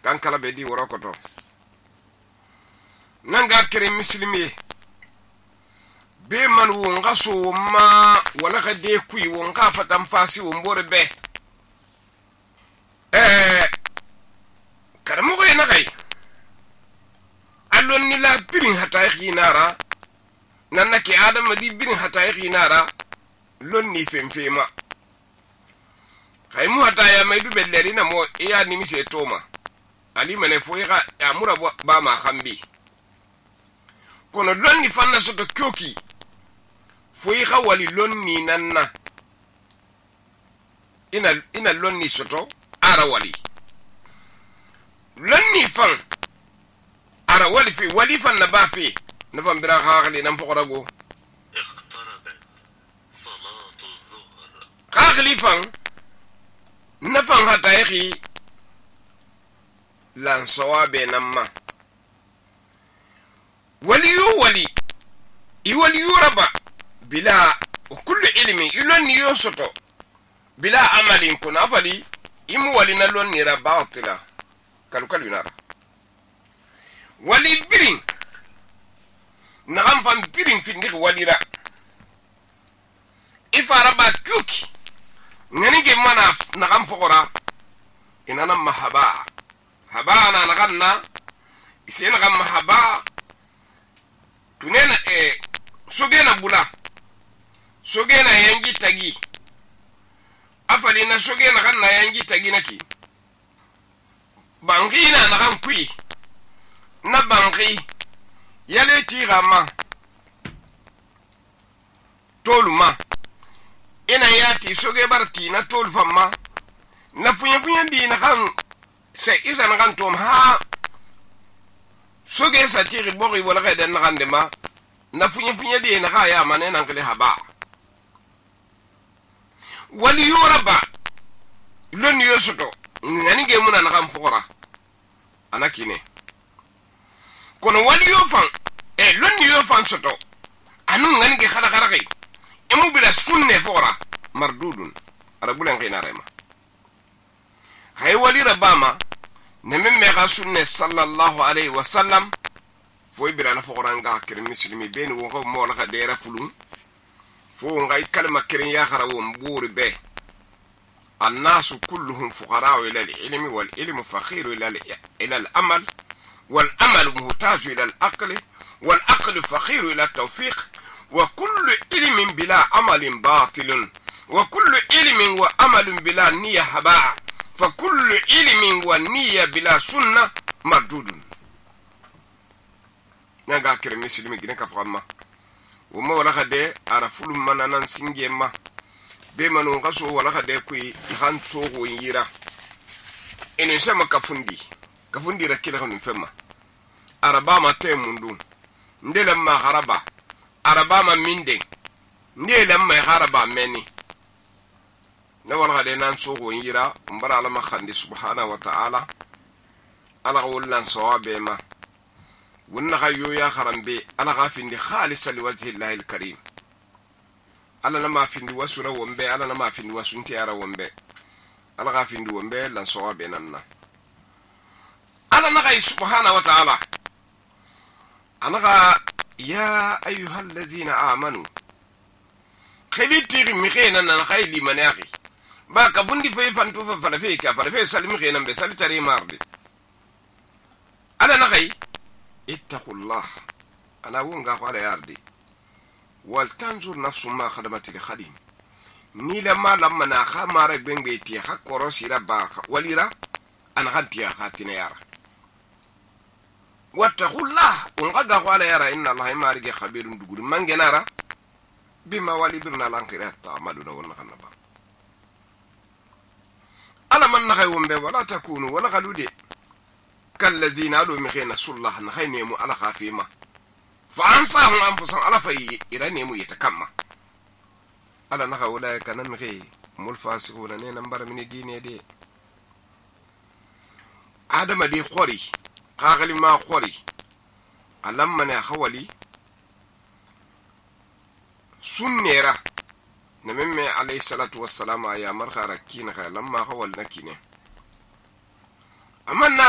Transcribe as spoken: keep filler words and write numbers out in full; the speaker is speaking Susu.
kan kala be di woro koto nanga kere muslimi be man wo nga so ma wala ka de kui wo nga fatam fasi wo mbore be eh karamo ko ina kai allon ni la birin hata xinara nanna ke adam di birin hata xinara lon ni femfema kay mu hata ya may du belleri na mo iya ni mi se toma ali mene fo ya amura ba ma khambi kono lon ni fanna so to kyoki fo ya wali lon ni nanna ina ina lon ni soto ara wali lon ni fan ara wali fi wali fan na ba fi na fan bira khali nam fo rago اقتربت صلاة الظهر khali fan na fan hata yaki lan sawabe namma wali yu wali i wali yu raba bila kullu ilmi ilon ni yosoto bila amalin kuna fali imu wali na lon ni rabatila kalu kalu nara wali birin na amfan birin findik walira ifara ba kuki ngani ge mana na kam fokora inana mahaba haba na naganna isena kam mahaba tunena e sogena bula sogena yangi tagi afali na sogena kan na yangi tagi naki bangina na kan kui na bangi yale tirama toluma ina yati soge barti na tol famma na funya funya di na kan se isa na kan tom ha soge sa tiri bori wala ga den na kan de ma na funya funya di na ga ya mane nan kale haba wali yoraba lon yosoto ngani ge muna na kan fokora anakine kono wali yofan e lon yofan soto anu ngani ge khada khada kai emu bila sunne fora mardudun arabulan kina rema hay wali rabama nemme me ga sunne sallallahu alaihi wasallam foy bila na fora nga kire muslimi ben wo ko mo la ka dera fulun fo ngai kalma kirin ya kharawo mburi be الناس كلهم فقراء إلى العلم والعلم فقير إلى إلى الأمل والأمل محتاج إلى العقل والعقل فقير إلى التوفيق وكل علم بلا عمل باطل وكل علم وعمل بلا نية هباء فكل علم ونية بلا سنة مردود نغا كرم مسلمي جنك فاما وما ولا خدي عرفول منانا سنجي ما بمنو غسو ولا خدي كوي يخان سوغو ييرا إنو سما كفندي كفندي ركيلا خنو فما عربا ما تيموندون ndela ma haraba araba ma minde ndela ma haraba meni na wala de nan so go yira mbara ala ma khandi subhanahu wa ta'ala ala wallan sawabe ma wunna gayo ya kharambe ala gafindi khalisa liwajhi llahi alkarim ala na ma findi wasura wombe ala na ma findi wasunti ara wombe ala gafindi wombe lan sawabe nanna ala na gay subhanahu wa ta'ala أنا يا أيها الذين آمنوا خليتي مخينا أنا خيلي مناخي با كفندي في فانتوفا فلفيكا فلفي سلمي خينا بسالي تري ماردي أنا نخي اتقوا الله أنا وونغا على ياردي ولتنظر نفس ما خدمت لخديم نيلا ما لما ناخا مارك بين بيتي حق ورسي ربا وليرا أنا غنتي خاتنا يارا واتقوا الله ونغدا قال يرى ان الله ما رجع خبير دغور من جنارا بما ولي برنا لانقرات تعملون ونغنبا الا من نخيوم به ولا تكونوا ولا غلودي كالذين قالوا مخينا صلح نخينيمو على خافيما فانصاهم انفسهم على في يرنيمو يتكما الا نخا اولئك نمغي ملفاسقون نمبر من الدين دي ادم دي خوري قاغلي ما خوري ألم من أخوالي سنيرا نممي عليه الصلاة والسلام يا مرخى ركينك لما أخوال نكينه أما النار